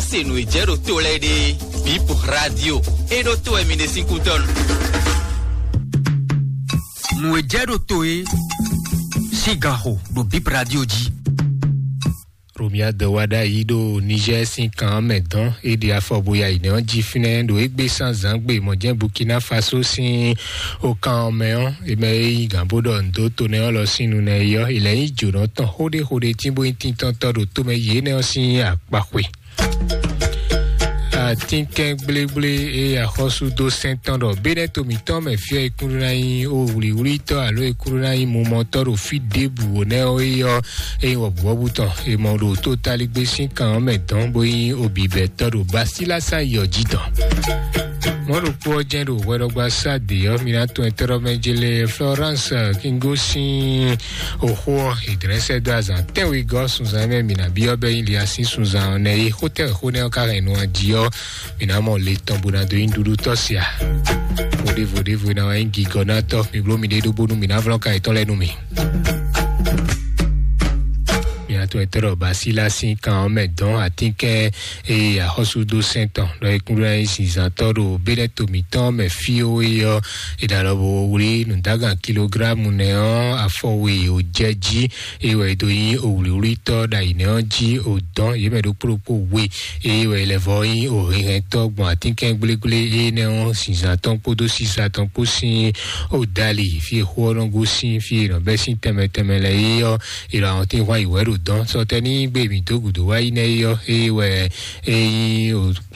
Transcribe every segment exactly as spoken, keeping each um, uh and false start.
Se nǔ e jɛ ɖo to lɛ́ɛ ɖe, Bip Radio, e ɖo to wɛ mi ɖe sín kútɔ́ nu. Nǔ e jɛ ɖo to e sín ganxo ɖo Bip Radio jí. Romia de wa ɖ'ayǐ ɖo Niger sín kan ɔ́ mɛ dɔn. É ɖe afɔ bo ya yi nɛ́ ɔ́ jí fínɛ́ ɖo égbé sán zǎngbe mɔ̌ jɛ́n Burkina Faso sín okan ɔ́ mɛ ɔ́, é mɛ é nyí gǎn bó ɖɔ nǔ dó to nɛ́ ɔ́ lɔ sín nu nɛ́ é ɔ́, è lɛ̌ nyí jǒnɔ tɔn xóɖéxóɖé tín bó nyí tíntɔ́ntɔ́ ɖo tomɛ yě nɛ́ ɔ́ sín akpaxwe. Atínkɛn gblégblé e axɔ́sú dó sɛn tɔn ɖɔ bénɛ́ to mǐtɔn mɛ fí ɔ́, e kún ɖó ná nyí ó wlǐwlítɔ́ alo e kún ɖó ná nyí mumɔtɔ́ ɖo fí ɖěbǔ wǒ nɛ́ ɔ́ é ɔ́, é nyí wɔ̌buwɔ́bú tɔn. È mɔ ɖo tótáligbé sín kan ɔ́ mɛ dɔn bó nyí obibɛtɔ́ ɖo Basilasa yɔ jí dɔn. Mɔ̌ ɖokpó ɔ́ jɛ́n ɖo hwɛɖɔgba sá dě ɔ́, mi ná tunwun ɛtɛ́ɖɔmɛ jélé Florence Kingo sín oxó ɔ́, è dlɛ́ sɛ́ dó azǎn tɛ́nwegɔ́ sunzan mɛ mǐ ná byɔ́ bɛ́ nyí Liasín sunzan ɔ́ nɛ́ é. Xó tɛ́nwe xó nɛ́ ɔ́ ka hɛn nu jí ɔ́, mǐ ná mɔ le tɔn bó ná dó nyí nǔɖuɖu tɔ́ sia. Vodévo ɖěvo ná wá nyí gigɔnátɔ́, mi bló miɖée ɖó bónú mǐ ná vlɔ́n ka yětɔn lɛ́ɛ nú mì. Mǐ ná tunwun ɛtɛ́ɖɔ Basilasi kan ɔ́ mɛ dɔn atínkɛn eye axɔ́súdó sɛn tɔn ɖɔ é kún ɖó ná nyí zinzǎntɔ́ ɖo bénɛ́ to mǐtɔn mɛ fí ó é ɔ́, è ɖo alɔ bo wlí nǔdágan kilográmu nɛ́ ɔ́ afɔ we ò jɛ jí, eye wɛ è dó nyí òwlǐwlítɔ́ ɖo ayǐ nɛ́ ɔ́ jí ò dɔn yě mɛ ɖokpó ɖokpó we, eye wɛ è lɛ́ vɔ nyí òhɛnhɛntɔ́ gbɔn atínkɛn gblégblé énɛ́ ɔ́ zinzǎn tɔn kpódó sísá tɔn kpó sín ò dali fí e xó ɔ́ nɔ gosín, fí e è nɔ bɛ́ sín tɛnmɛ tɛnmɛ lɛ́ɛ é ɔ́, è ɖo àwọn tín hwan yi wɛ ɖo dɔn. Sɔtɛní gbe mǐ dó gǔdo wá yi nɛ́ é ɔ́, eye wɛ é nyí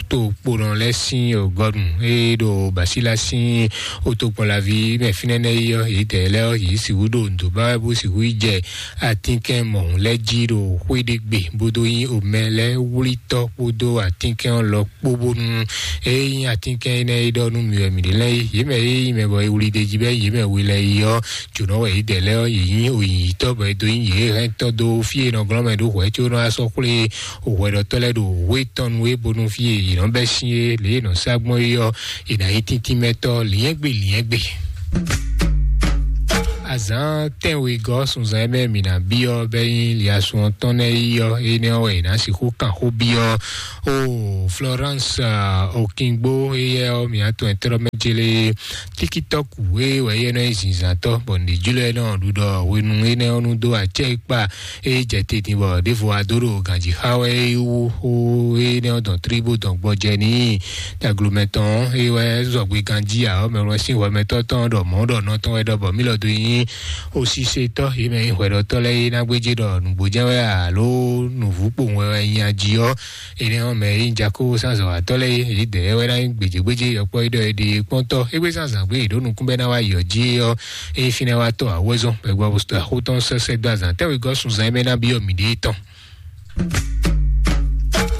tokponɔ lɛ́ɛ sín gɔnu e ɖo Basila sín otokpɔnlaví mɛ fínɛ́ nɛ́ é ɔ́, yědɛɛ lɛ́ɛ ɔ́, yě sixú ɖo nǔdó ba wɛ bó sixú yi jɛ atínkɛn mɔ̌hun lɛ́ɛ jí ɖo xwé ɖé gbe, bó dó nyí omɛ lɛ́ɛ wlítɔ́ kpódó atínkɛn ɔ́ lɔ kpó, bónú é nyí atínkɛn énɛ́ e ɖɔ nú mì wɛ mǐ ɖe lɛ́ɛ é. Yě mɛ e nyí mɛ bɔ è wlí ɖ'é jí bɔ é nyí yě mɛ we lɛ́ɛ é ɔ́, jǒnɔ wɛ yědɛɛ lɛ́ɛ ɔ́, yě nyí oyǐyítɔ́ bɔ é dó nyí yě hɛntɔ́ dó fí e è nɔ glɔ́n mɛ ɖó hwɛ̌ có nɔ wá sɔ́ xwlé hwɛɖɔtɔ́ lɛ́ɛ ɖo wě tɔn nu é, bónú fí e yě nɔ bɛ́ sín é, lě e è nɔ sá gbɔn é ɔ́, è nǎ nyí tíntín mɛtɔ́ lyɛ̌ngbe lyɛ̌ngbe. Azǎn tɛ́nwegɔ́ sunzan e mɛ mǐ ná byɔ́ bɛ́ nyí liasun ɔ́ tɔn nɛ́ é ɔ́, énɛ́ ɔ́ wɛ è nǎ sixú kan xó byɔ́ o Florence Okingbo. Éyɛ́ ɔ́, mǐ ná tunwun ɛtɛ́ɖɔmɛ jélé tíkítɔ́kù e wɛ éyɛ́ nɔ nyí zinzǎntɔ́, bɔ nǔɖé jló ɛ nɔ ɖu ɖɔ hwenu énɛ́ ɔ́ nu dó acɛ e kpa e jɛ te din bɔ ɖěvo wá dó ɖo ganjí xa wɛ é wú xó énɛ́ ɔ́ dɔn tlí bó dɔn gbɔjɛ n'i. Taglomɛ tɔn ɔ́, é wɛ zɔgbe ganjí ǎ ɔ́, mɛ wɛ sín hwɛmɛtɔ́ tɔn ɖɔ mɔ̌ ɖɔ nɔ tɔn wɛ ɖɔ bɔ mí lɔ dó nyí osisetɔ́, yě mɛ nyí hwɛɖɔtɔ́ lɛ́ɛ é ná gbéjé ɖɔ nǔgbó jɛ́n wɛ alo nǔvú kpowun wɛ wɛ nyi ají ɔ́, énɛ́ ɔ́ mɛ é nyí Jakóo sín azɔ̌watɔ́ lɛ́ɛ é, yědɛɛ wɛ ná nyí gbějégbéjé yɔkpɔ́ é ɖɔ è ɖe kpɔ́ntɔ́. Égbé sín azǎn gbé è ɖǒ nukún bɔ é ná wá yi ɔ́ jí é ɔ́, é nyí fínɛ́ wá tɔ́ awɔ́zɔ́n bɔ é gbɔ axótɔ́ sɛ́sɛ́ dó azǎn tɛ́wegɔ́ sunzan e mɛ ná byɔ́ mǐɖée tɔn.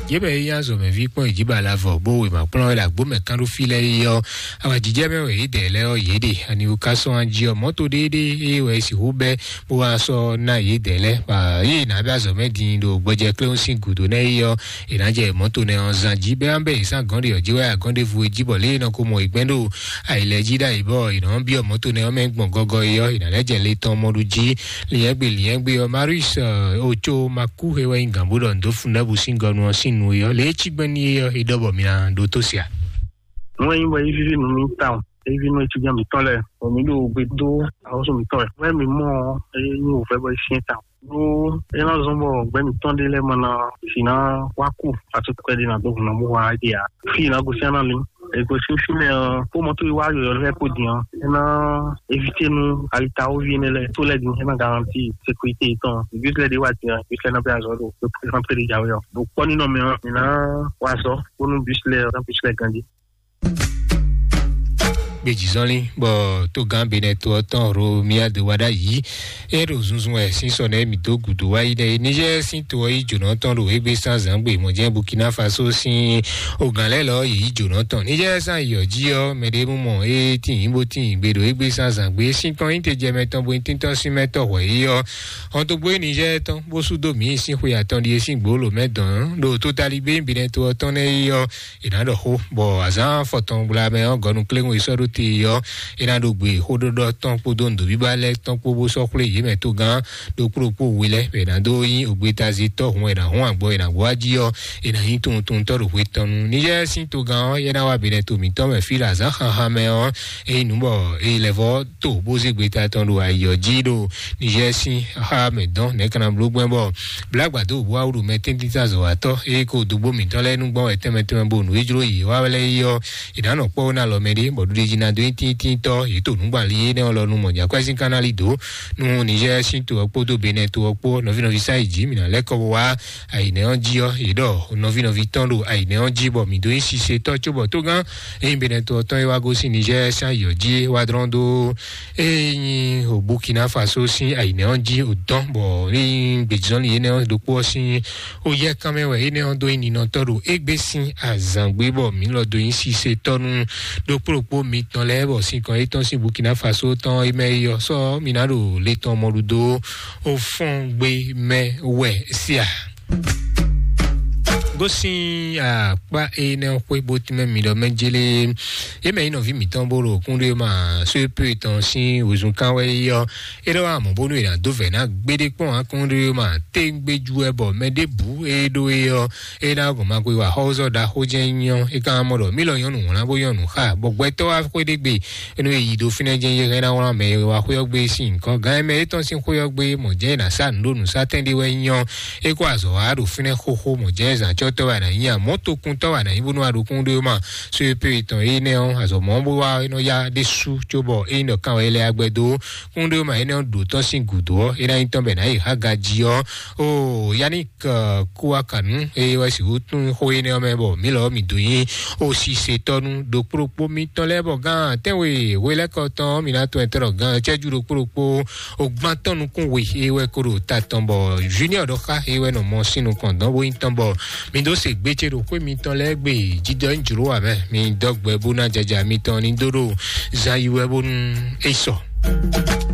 Yě mɛ e nyí azɔ̌mɛví kpɔ́n yě jí ba lavɔ bó wěma kplɔ́n wɛ ɖo agbǒ mɛ kán ɖó fí lɛ́ɛ é ɔ́, awǎjijɛ mɛ wɛ yědɛɛ lɛ́ɛ ɔ́ yě ɖe. Ani wú ká sɔ́ jí ɔ́, mɔ̌to ɖéeɖée e wɛ è sixú bɛ́ bó wá sɔ́ ná yědɛɛ lɛ́ɛ. Bɔ yě ná bɛ́ azɔ̌ mɛ din ɖo gbɔjɛ kléwún sín gǔdo nɛ́ é ɔ́, è nǎ jɛ mɔ̌to nɛ́ ɔ́ zán jí bɛ́ ná bɛ́ yě sín agɔ̌n ɖě ɔ́ jí wɛ agɔ̌n ɖěvo e jí bɔ lě e nɔ ko mɔ yě gbɛn ɖo ayǐ lɛ́ɛ jí ɖ'ayǐ bɔ è nɔ byɔ́ mɔ̌to nɛ́ ɔ́ mɛ gbɔn gɔgɔ é ɔ́, è nǎ lɛ́ jɛ le tɔn mɔ ɖu jí. Lyɛ̌ngbé lyɛ̌ngbé ɔ́, Marius Ocho Maku e wɛ nyí gǎnbó ɖɔ nǔ dó fun ɖěbǔ sín gɔnu ɔ́ sín nu é ɔ́, lě e cí gbɛn n'i é ɔ́, é ɖɔ bɔ mi ná ɖótó se a? Nú e nyí bɔ é víví nú mì tawun, é víví nú etíjɛ́n mǐtɔn lɛ́ɛ, bɔ mǐ ɖo gbe dó axɔ́sú mǐtɔn wɛ. Nú e mǐ mɔ ɔ́, é nyí wǔvɛ́ bɔ é syɛ́n tawun. Ɖó é ná zɔ́n bɔ gbɛ́ mǐtɔn ɖé lɛ́ɛ ma ná si ná wá ku atukpɛ́ ɖé ná dó hun ná mú wá ɖe ǎ. Fí e ná gosín ná lin. È gosín fínɛ́ ɔ́, kpó mɔ̌ tó e wá yɔ̌yɔ́ lɛ́ɛ kpo din ɔ́, é ná évité nú alitawoví énɛ́ lɛ́ɛ tó lɛ́ɛ din, é ná garanti sécurité yětɔn. Bus lɛ́ɛ ɖé wá din ɔ́, bus lɛ́ɛ ná bɛ́ azɔ̌ ɖo rɛ́ntré ɖé jǎwe ɔ́. Ɖo kpɔ́ nínɔ mɛ ɔ́, mǐ ná wa azɔ̌ bónú bus lɛ́ɛ ɔ́, ná bus lɛ́ɛ ganjí. Gbejizɔnlin bɔ tógán Benɛto ɔ́ tɔn Romia de wa ɖ'ayǐ. É ɖo zunzun wɛ sín sɔ nɛ́ mǐ dó gǔdo wá yi ɖɛ é. Niger sín to ɔ́ yí jǒnɔ tɔn ɖo égbé sán zǎngbe mɔ̌ jɛ́n Burkina Faso sín ogǎn lɛ́ɛ lɔ yě yí jǒnɔ tɔn. Niger sán yi ɔ́ jí ɔ́, mɛ ɖé mú mɔ é tín bó tín gbe ɖo égbé sán zǎngbe. Sín tɔn nyí te jɛ mɛ tɔn bo nyí tíntɔ́n sín mɛ tɔn hwɛ̌ é ɔ́. Hɔn dó gbé Niger tɔn bó sú dó mǐ sín xwe atɔn ɖíe sín gbǒ lǒ mɛ dɔn ɖo tótaligbé Benɛto ɔ́ tɔn nɛ́ é ɔ́, è nǎ ɖɔ xó, bɔ azǎn afɔtɔn gbla mɛ ɔ́ gɔnu kléŋu e sɔ́ ɖó te ɔ́, é ná ɖo gbe xóɖɔɖɔ tɔn kpódó nǔɖoɖíba lɛ́ɛ tɔn kpó bó sɔ́ xwlé yě mɛ togán ɖokpó ɖokpó we lɛ́ɛ, bɔ è nǎ dó nyí ògbétazítɔ́ hun, è nǎ hun agbɔ, è nǎ gbɔ wá jí ɔ́, è nǎ nyí tunwuntunwuntɔ́ ɖo hwe tɔn nu. Niger sín togán ɔ́, é ná wá Benɛto mǐtɔn mɛ fí ɖo azǎn xaxa mɛ ɔ́, é nyí nǔ bɔ é lɛ́ vɔ́ to bó zé gbeta tɔn ɖo ayǐ ɔ́ jí ɖo Niger sín xá mɛ dɔn nɛ̌ ka ná bló gbɛn bɔ blǎgbǎdó bó wá wú ɖo mɛ tɛ́ntin azɔ̌watɔ́ é ko dó gbó mǐtɔn lɛ́ɛ nú gbɔn wɛ tɛnmɛ tɛnmɛ bo nǔ e jló yě wá lɛ́ɛ é ɔ́, è nǎ nɔ kpɔ́ wó ná lɔ mɛ ɖé, bɔ ɖuɖéjí ná dó nyí tíntítɔ́ yě to nǔgbali énɛ́ ɔ́ lɔ nú mɔ̌ jǎkwɛ́ sín kánáli dó nú Niger sín to ɔ́ kpódó Benɛ́ to ɔ́ kpó. Nɔví nɔví sá yi jǐ mǐ ná lɛ́ kɔ bó wá ayǐnɛ́ ɔ́ jí ɔ́, yě ɖɔ nɔví nɔví tɔn ɖo ayǐnɛ́ ɔ́ jí bɔ mǐ dó nyí sisetɔ́ cóbɔ tógán ényí Benɛ́ to ɔ́ tɔn é wá gosín Niger sín ayǐ ɔ́ jí é wá dlɔ́n dó ényí o Burkina Faso sín ayǐnɛ́ ɔ́ jí o dɔn bɔ ényí gbějínɔ́lí énɛ́ ɔ́ ɖokpó ɔ́ sín ó yɛ kán mɛ wɛ énɛ́ ɔ́ dó nyí ninɔtɔ́ ɖo égbé sín azǎngbé bɔ mǐ lɔ dó nyí sisetɔ́ nú ɖokpó ɖokpó mitɔn lɛ́ɛ bɔ sinkɔn yětɔn sín Burkina Faso tɔn é mɛ é ɔ́ sɔ́ mǐ ná ɖo le tɔn mɔɖuɖo ó fɔ́n gbé mɛ wɛ síá. Gosín akpá énɛ́ xwé bó tínmɛ mi ɖɔ mɛ jélé yé mɛ nyí nɔví mǐtɔn bó ɖo kúnɖé ma só é pé tɔn sín wezun kán wɛ é ɔ́, é ɖɔ wá mɔ̌ bónú è nǎ dó vɛ̌ ná gbéɖé kpɔ́n akɔ́nɖéwéma téŋgbéjú wɛ bɔ mɛ ɖěbǔ e ɖó é ɔ́, é ná gɔn ma xwe wa xɔ́zɔ́ ɖaxó jɛ́n nyɔ́. É ka mɔ ɖɔ mí lɔ nyɔ́nu wlán bó nyɔ́nu xa bɔ gbɛtɔ́ wá xwé ɖé gbe énú e yi ɖo fínɛ́ jɛ́n yé hɛn ná wlán mɛ e wa xwé ɔ́ gbé sín nǔkɔn gán mɛ étɔn sín xwé ɔ́ gbé mɔ̌ jɛ́n è nǎ sa nǔ ɖo nǔsátɛn ɖé wɛ nyɔ́. É kó azɔ̌ wá ɖo fínɛ́ xóxó mɔ̌ jɛ́n zǎncɔ́tɔ́ wɛ a nǎ nyí a mɔ̌ tokuntɔ́ wɛ a nǎ nyí bónú a ɖo kúnɖéwéma só é pé tɔn énɛ́ ɔ́ azɔ̌ mɔ̌ bó wá é nɔ yá ɖésú cóbɔ é nyí ɖɔ kan wɛ é lɛ́ á gbɛ dó kúnɖéwéma énɛ́ ɔ́ ɖǒ tɔ́n sín gǔdo ɔ́ é ná nyí tɔn bɛ nǎ yi Haga jí ɔ́. O Yannick Kouakanu eye wɛ sixú tún xó énɛ́ ɔ́ mɛ bɔ mǐ lɔ mǐ dó nyí ó sí setɔ́ nú ɖokpó ɖokpó mitɔn lɛ́ɛ bɔ gán tɛ́nwe hwelɛ́kɔ tɔn mǐ ná tɔn ɛtɛ́ ɖɔ gán cɛ́jú ɖokpó ɖokpó o gbán tɔn nukún we eye wɛ ko ɖo ta tɔn bɔ Junior ɖɔ xá eye wɛ nɔ mɔ sín nukɔn dɔn bó nyí tɔn bɔ mǐ dó se gbé ce ɖo xwé mitɔn lɛ́ɛ gbe jídɔ nyí jlǒ wǎ mɛ mǐ dɔ́ gbɛ bó ná jaja mitɔn ní dó ɖo zan yi wɛ bónú é sɔ.